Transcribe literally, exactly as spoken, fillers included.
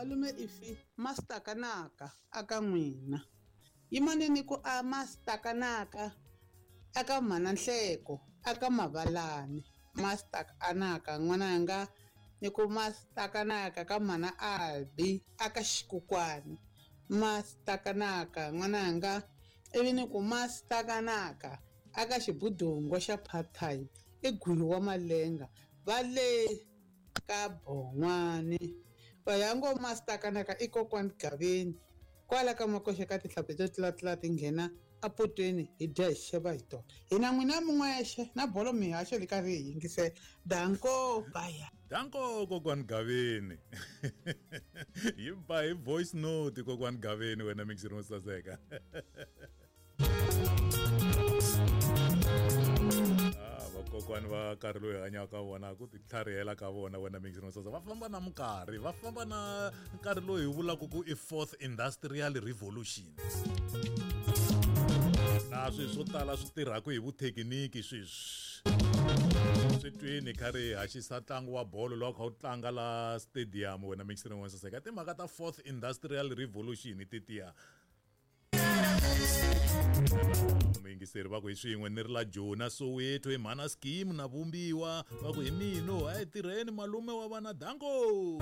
Malume Ifi mastakanaka aka n'wina. Yimaneni ku a mastakanaka aka mhana Nhleko aka Mavalani. Mastakanaka n'wananga ni ku mastakanaka ka mhana Albi aka Xikukwani. Mastakanaka n'wananga ivi ni ku mastakanaka aka xibudungo xa part time i Gwiyi wa Malenga va le ka Bon'wani. Va ya ngo mastakanaka i kokwani Gaveni kwala ka makoxa ka tihlampfi to tlulatula ti nghena apotweni hi dya hi xeva hi tona. Hina n'wina min'wexe na bolo mihaxo li karhi hi yingisela. Danko baya. Danko kokwani Gaveni. Yi ba hi voice note kokwani Gaveni wena mixini wo saseka. Ah, vakokwani va nkarhi lowu hi hanyaka ka vona ku ti tlharihela ka vona wena mixini wo saseka. Va famba na minkarhi, va famba na nkarhi lowu hi vulaka ku i fourth industrial revolution. Na swilo swo tala swi tirhaka hi vuthekiniki sweswi. Swi twini kha ri haxisa ntlangu wa bolo lowu a kha wu tlanga la stadium wena mixini wo saseka. Timhaka ta fourth industrial revolution tetiya. Muyingiseri va ku hi swin'we ni ri la Jona Soweto hi mhana scheme na vumbiwa va ku hi mino a hi tirheni malume wa vana danko.